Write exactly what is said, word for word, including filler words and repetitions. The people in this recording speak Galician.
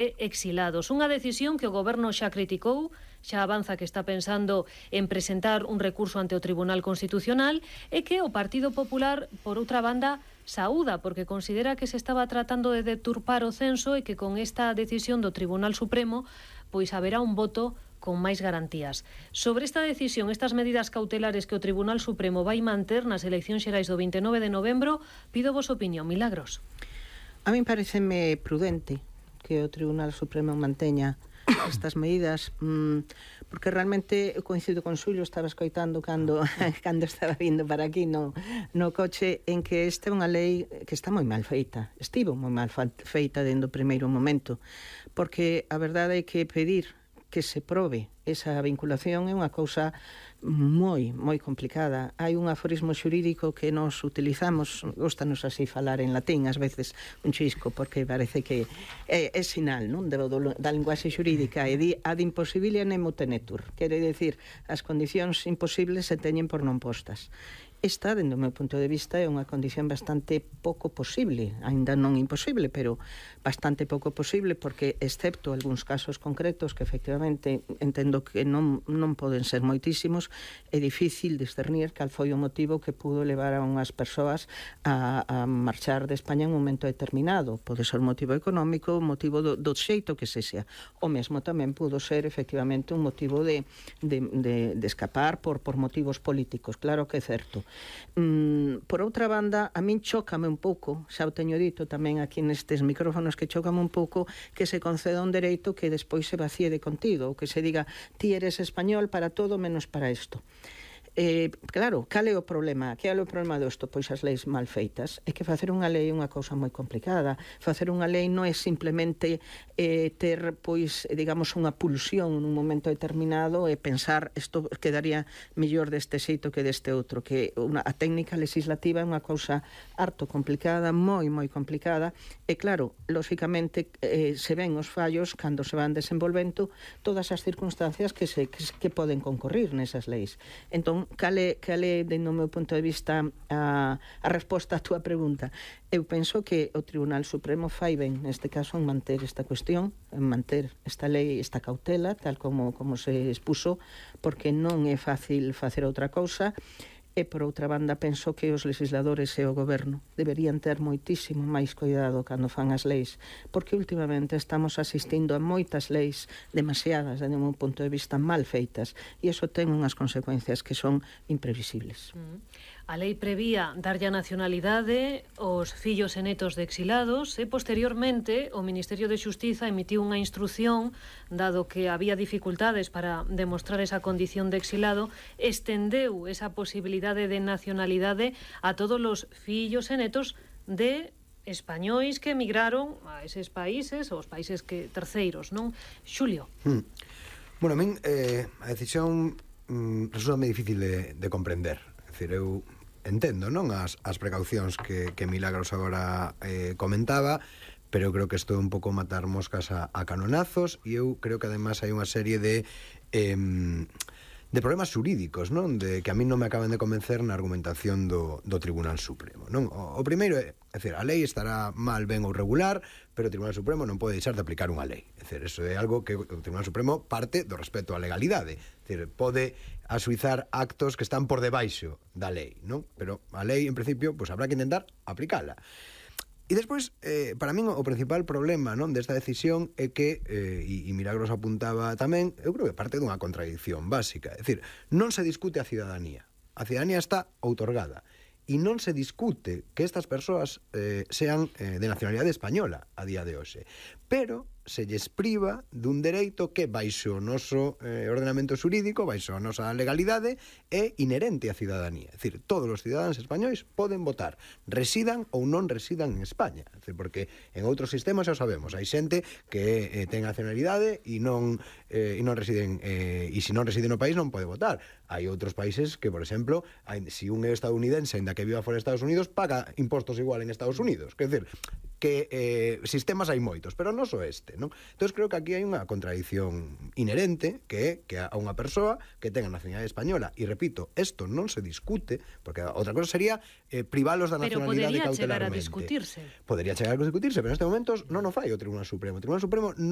exilados. Unha decisión que o Goberno xa criticou, xa avanza que está pensando en presentar un recurso ante o Tribunal Constitucional e que o Partido Popular, por outra banda, saúda, porque considera que se estaba tratando de deturpar o censo e que con esta decisión do Tribunal Supremo pois haberá un voto con máis garantías. Sobre esta decisión, estas medidas cautelares que o Tribunal Supremo vai manter nas eleccións xerais do vinte e nove de novembro, pido vos opinión. Milagros. A min pareceme prudente que o Tribunal Supremo manteña estas medidas, mmm, porque realmente eu coincido con Xulio, estaba escoitando cando, cando estaba vindo para aquí no, no coche, en que esta é unha lei que está moi mal feita, estivo moi mal feita dende o primeiro momento, porque a verdade é que pedir que se probe esa vinculación é unha cousa moi, moi complicada. Hai un aforismo xurídico que nos utilizamos, gostanos así falar en latín, ás veces un chisco, porque parece que é, é sinal, non? De, do, da linguaxe xurídica, e di ad imposibilia nemo tenetur, quere decir, as condicións imposibles se teñen por non postas. Esta, dende o meu punto de vista, é unha condición bastante pouco posible, aínda non imposible, pero bastante pouco posible, porque, excepto algúns casos concretos que efectivamente entendo que non, non poden ser moitísimos, é difícil discernir cal foi o motivo que pudo levar a unhas persoas a, a marchar de España en un momento determinado. Pode ser un motivo económico, un motivo do, do xeito que se sea. O mesmo tamén pudo ser, efectivamente, un motivo de, de, de, de escapar por, por motivos políticos. Claro que é certo. Mm, por outra banda, a min chócame un pouco, xa o teño dito tamén aquí nestes micrófonos, que chócame un pouco que se conceda un dereito que despois se vacíe de contido, ou que se diga ti eres español para todo menos para isto. Eh, claro, cal é o problema? Que é o problema disto? Pois as leis mal feitas. É que facer unha lei é unha cousa moi complicada. Facer unha lei non é simplemente eh, ter, pois, digamos, unha pulsión nun momento determinado e pensar isto quedaría mellor deste xeito que deste outro, que unha, a técnica legislativa é unha cousa harto complicada, moi, moi complicada, e claro, lóxicamente eh, se ven os fallos cando se van desenvolvendo todas as circunstancias que, se, que, que poden concorrir nesas leis. Entón, cal é, cal é, dentro do meu punto de vista, a, a resposta á túa pregunta? Eu penso que o Tribunal Supremo fai ben, neste caso, en manter esta cuestión, en manter esta lei, esta cautela, tal como, como se expuso, porque non é fácil facer outra cousa. E, por outra banda, penso que os legisladores e o goberno deberían ter moitísimo máis cuidado cando fan as leis, porque últimamente estamos asistindo a moitas leis demasiadas, desde o meu punto de vista, mal feitas, e iso ten unhas consecuencias que son imprevisibles. Mm. A lei prevía darlle a nacionalidade aos fillos e netos de exilados e, posteriormente, o Ministerio de Xustiza emitiu unha instrución, dado que había dificultades para demostrar esa condición de exilado, estendeu esa posibilidade de nacionalidade a todos os fillos e netos de españois que emigraron a eses países, aos países que terceiros, non? Xulio. Hmm. Bueno, a min eh, a decisión mm, resulta moi difícil de, de comprender. É dicir, eu entendo, non, as, as precaucións que, que Milagros agora eh, comentaba, pero eu creo que isto é un pouco matar moscas a, a canonazos, e eu creo que además hai unha serie de eh, de problemas xurídicos, non, de que a mí non me acaban de convencer na argumentación do, do Tribunal Supremo, non? O, o primeiro é, é dicir, a lei estará mal, ben ou regular, pero o Tribunal Supremo non pode deixar de aplicar unha lei. É dicir, eso é algo que o Tribunal Supremo parte do respeto á legalidade. É dicir, pode asuizar actos que están por debaixo da lei, non? Pero a lei, en principio, pois habrá que intentar aplicala. E despois, eh, para min, o principal problema, non, desta decisión é que, eh, e, e Milagros apuntaba tamén, eu creo que parte dunha contradicción básica. É dicir, non se discute a cidadanía. A cidadanía está outorgada. E non se discute que estas persoas eh, sean eh, de nacionalidade española a día de hoxe. Pero se lles priva dun dereito que, baixo o noso eh, ordenamento xurídico, baixo a nosa legalidade, é inherente á cidadanía. É dicir, todos os cidadáns españois poden votar, residan ou non residan en España. É dicir, porque en outros sistemas xa sabemos, hai xente que eh, ten nacionalidade e non, eh, e non residen, eh, e se non reside no país non pode votar. Hai outros países que, por exemplo, hai, se un é estadounidense, ainda que viva fora de Estados Unidos, paga impostos igual en Estados Unidos. Quer dizer, que eh, sistemas hai moitos, pero non só este, non? Entón, creo que aquí hai unha contradición inherente, que é que a unha persoa que tenga nacionalidade española, e repito, isto non se discute, porque outra cosa sería eh, privalos da nacionalidade cautelarmente. Pero podería chegar a discutirse. Podería chegar a discutirse, pero neste momentos non o fai o Tribunal Supremo. O Tribunal Supremo non